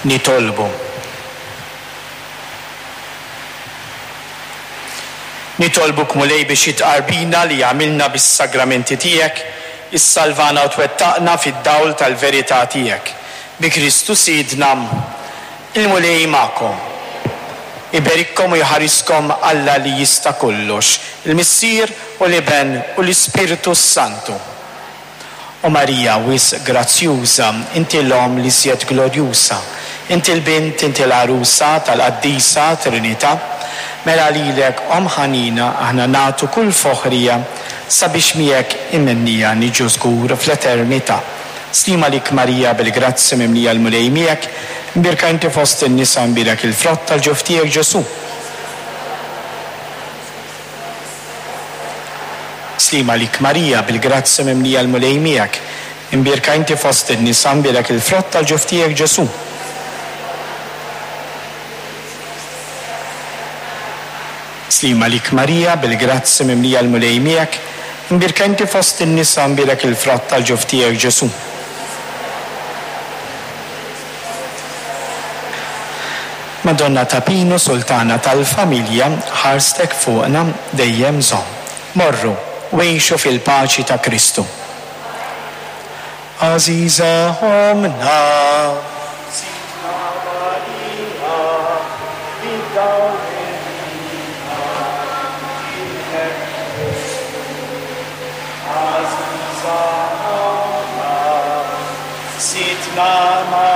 Nitolbu. Nitolbuk Mulej biex it-tqarbina li għamilna bis-sagramenti tiegħek issalvana u twettaqna fid-dawl tal-verità tiegħek. Bi Kristu Sidna. Il-Mulej magħkom. Iberikkom u jħariskom Alla li jista' kollox, il-Missier u l-Iben u l-Ispirtu s-Santu. O Marija wisq grazzjuża, inti l-Omm l-iżjed glorjuża, inti l-Bint, inti l-Għarusa tal-Qaddisa Trinità, mela lilek, Omm ħanina, aħna nagħtu kull foħrija sabiex miegħek imennija niġu żgur fl-eternità. Sliem għalik Marija bil-grazzja mimlija l-Mulej miegħek, imbierka inti fost in-nisa imbierek il-frott tal-ġuf tiegħek Ġesù. Sliem għalik Marija, bil-grazzja mimlija l-Mulej miegħek, imbierka inti fost in-nisa, mbierek il-frott tal-ġuf tiegħek Ġesù. Sliem għalik Marija, bil-grazzja mimlija l-Mulej miegħek, imbierka inti fost in-nisa, mbierek il-frott tal-ġuf tiegħek Ġesù. Madonna ta' Pinu, Sultana tal-familja, ħarstek fuqna dejjem żomm. Morru u għixu fil-paċi ta' Kristu. Għażiża Ommna. Sidtna Marija, bid-dawl irina, ibnek Ġesù. Għażiża Ommna. Sidtna Marija.